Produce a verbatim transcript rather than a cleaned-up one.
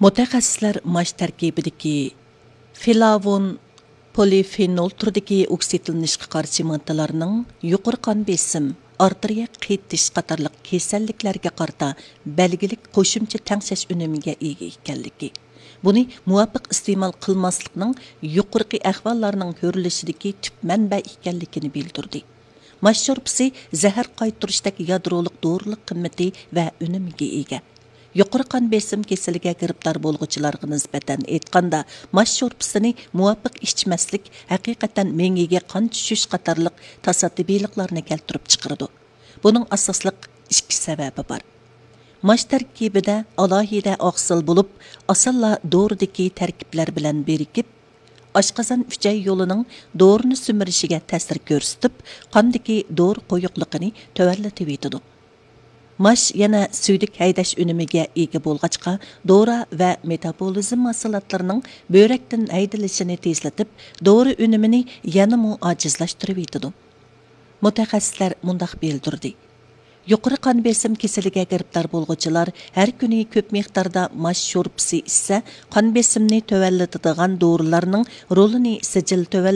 مۇتەخەسسىسلەر ماش تەركىبىدىكى فلاۋون، پولىفېنول تۈرىدىكى ئوكسىدلىنىشقا قارشى ماددىلارنىڭ يۇقىرى قان بېسىم، ئارتېرىيە قېتىش قاتارلىق كېسەللىكلەرگە قارىتا بەلگىلىك قوشۇمچە تەڭشەش ئۈنۈمىگە ئىگە ئىكەنلىكى، بۇنى مۇۋاپىق ئىستېمال قىلماسلىقنىڭ يۇقىرىقى ئەھۋاللارنىڭ كۆرۈلۈشىدىكى تۈپ مەنبە ئىكەنلىكىنى بىلدۈردى. ماش شورپىسى زەھەر قايتۇرۇشتەك يادرولۇق دورىلىق قىممىتى ۋە ئۈنۈمىگە ئىگە. يۇقىرى قان بېسىم كېسىلىگە گىرىپتار بولغۇچىلارغا نىسبەتەن ئېيتقاندا، ماش شورپىسىنى مۇۋاپىق ئىچمەسلىك ھەقىقەتەن مېڭىگە قان چۈشۈش قاتارلىق تاسادىپىيلىقلارنى كەلتۈرۈپ چىقىرىدۇ. بۇنىڭ ئاساسلىق ئىككى سەۋەبى بار. ماش تەركىبىدە ئالاھىدە ئاقسىل بولۇپ، ئاسانلا دورىدىكى تەركىبلەر بىلەن بىرىكىپ، ئاشقازان ئۈچەي يولىنىڭ دورىنى سۈمۈرۈشىگە تەسىر كۆرسىتىپ، قاندىكى دورا قويۇقلۇقىنى تۆۋەنلىتىۋېتىدۇ. ماش يەنە سۈيدۈك ھەيدەش ئۈنۈمىگە ئىگە بولغاچقا، دورا ۋە مېتابولىزم مەھسۇلاتلىرىنىڭ بۆرەكتىن ھەيدىلىشىنى تېزلىتىپ، دورا ئۈنۈمىنى يەنىمۇ ئاجىزلاشتۇرۇۋېتىدۇ. مۇتەخەسسىسلەر مۇنداق بىلدۈردى: يۇقىرى قان بېسىم كېسىلىگە گىرىپتار بولغۇچىلار ھەر كۈنى كۆپ مىقداردا ماش شورپىسى ئىچسە، قان بېسىمنى تۆۋەنلىتىدىغان دورىلارنىڭ رولىنى سىجىل تۆۋەن